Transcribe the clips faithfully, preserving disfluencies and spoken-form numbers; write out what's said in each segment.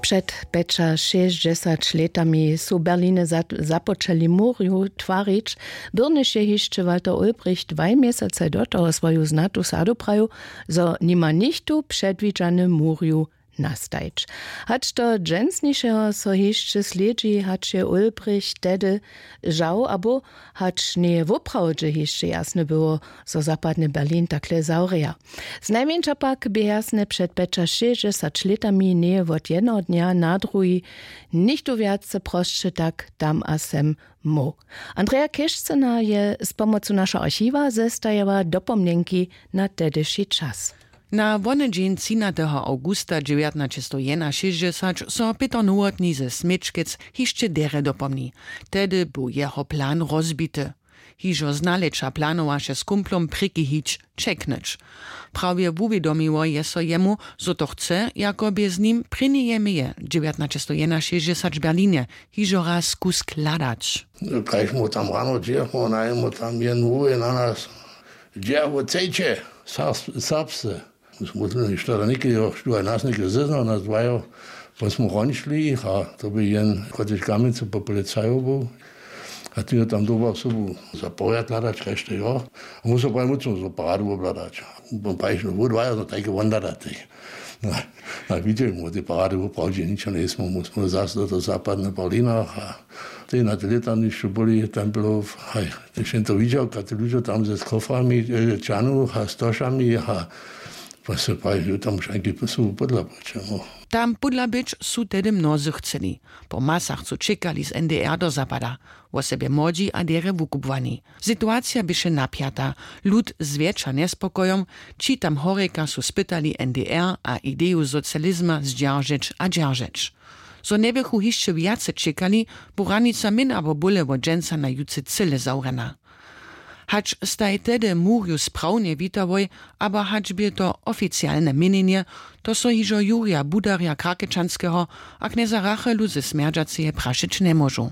Před pjećašěsćdźesać lětami su w Berlinje započeli murju twarić. Byrnyš je hišće Walter Ulbricht dwaj měsacaj do toho swoju znatu sadu prajił, zo nima nichtó předwidźany murju nastajić. Hač do dźensnišeho so hišće slědźi, hač je Ulbricht tehdy žał abo hač njeje woprawdźe hišće jasne było, zo zapadny Berlin takle zawrěja. Znajmjeńša pak bě jasne před pjećašěsćdźesać lětami njeje wot jednoho dnja na druhi nichtó wjace prosće tak tam a sem móhł. Andrea Kěšcyna je z pomocu našeho archiwa zestajała dopomnjenki na tehdyši čas. Na wonedźeń třinateho awgusta dźewjatnaćestow jenašěsćdźesać so pětr nowotny ze směčkec hišće derje dopomni. Tehdy był jeho plan rozbity. Hižo znaleča planowaše z kumplom prěki hić čeknyć. Prawje wuwědomiło je so jemu, zo to chce, jako bě z nim prěnjeje meje dźewjatnaćestow jenašěsćdźesać w Berlinje hižo raz kusk hladać. Kaž mu tam rano dźěchmo najemu tam jen hłowje na nas, dźe wo chcejće? Serbsce. Smutno je što da něke jo što nas něke zeznał nas dwajo. Pon smo hrončli a to by jen kotež kamjencu po policajo był. A ty jo tam doba sobu za porjad hladać kaž to jo. A mu so pravi mucno zo paradu obhladać. Pon praviš no wo dwajo no tajke won hladać. Na widźeli mu te parady woprawdźe ničo njejsmy mu smo zas do toho zapadne berlinach a tej na te lětanišću byli templow haj. Tež jen to widźał kate ludźo tam ze koframi, čanu a stošami a pa se pravi tam šanki su podla počemu. Tam podla być su tehdy mnozy chceli. Po masach su čekali z ndr do zapada, wosebje młodźi a derje wukubłani. Situacija běše napjata. Lud zwjetša njespokojom. Ći tam horjeka su spytali ndr a ideju socializma zdźeržeć a dźeržeć. Zo njebychu hišće wjace čekali, bu hranica myn abo bóle wot dźensa na jutře cyle zawrjena. Hač staj tehdy murju sprawnje witałoj, abo hač bě to oficialne měnjenje, to so hižo jurja budarja krakečanskeho a knjeza rachelu ze smjerdźaceje prašeć njemóžu.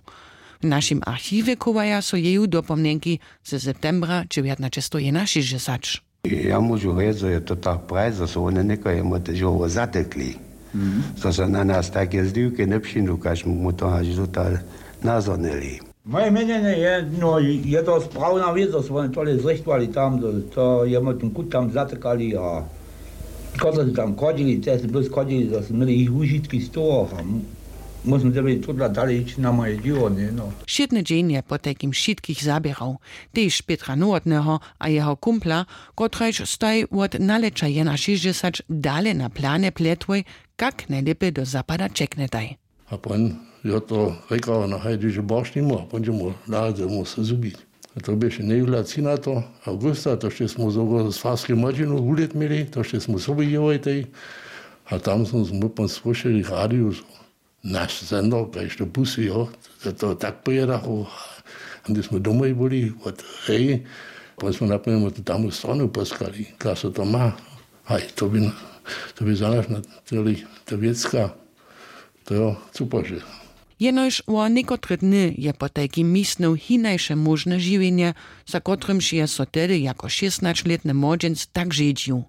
W našim archiwje chowaja so jeju dopomnjenki ze septembra dźewjatnaćestow jenašěsćdźesać. Ja móžu rjec zo je to tak prajić zo su wone někoho jemu tež howo zatekli, zo su na nas tajke zliwke njepřińdu kaž mu to haž dotal nazhonili. Moje měnjenje je no, je to sprawna wěc zo su wone tole zrichtowali tam, to jemu ten kut tam zatekali a kotre su tam chodźili te su blós chodźili zo su měli jich wužitki z toho a móžno dyrbi tudla dalej hić na moje dźěło njeno. Wšědny dźeń je potajkim wšitkich zaběrał, tež pětra nowotneho a jeho kumpla, kotrajž staj wot nalěća jenašěsćdźesać dale na planje pletłoj, kak njelěpje do zapada ćeknjetaj. A pon jo to rěkał na haj dźeže borš nimu a pon dźe mu naradźe mu se zhubić. A to běše njejuhlaci na to awgusta to šće smy z farskej młodźinu wulět měli to šće smy sobu jěłojtej. A tam smy pon słyšeli w radiju zo naš sendor kaž to pusyjo, to tak pojědachu. A hdy smy domoj byli wot hej, pon smy naprjemu tu tamu stronu poskali kaž so to ma. Haj, to by za naš na tyrli ta wěcka. To jo, cupože. Jenož wo někotre dny je potajkim misnył hinajše móžne žiwjenje, za kotrymž je so tehdy jako šěstnaćlětny młodźenc tak žedźił.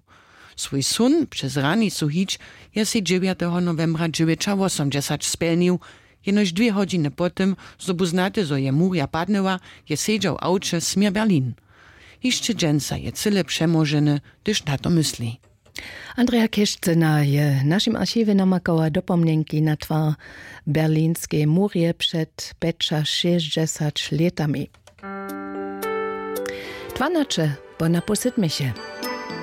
Swój són přez hranicu hić je sej dźewjateho nowembra dźewjećawosomdźesać spjelnił. Jenož dwě hodźiny po tym zo bu znate zo je murja padnyła, je sedźał w awće směr berlin. Hišće dźensa je cyle přemoženy, hdyž na to mysli. Andrea kěšcyna je w našim archiwje namakała dopomnjenki na twar berlinskej murje před pjećašěsćdźesać lětami. Dwanaće po na pół sydmeše.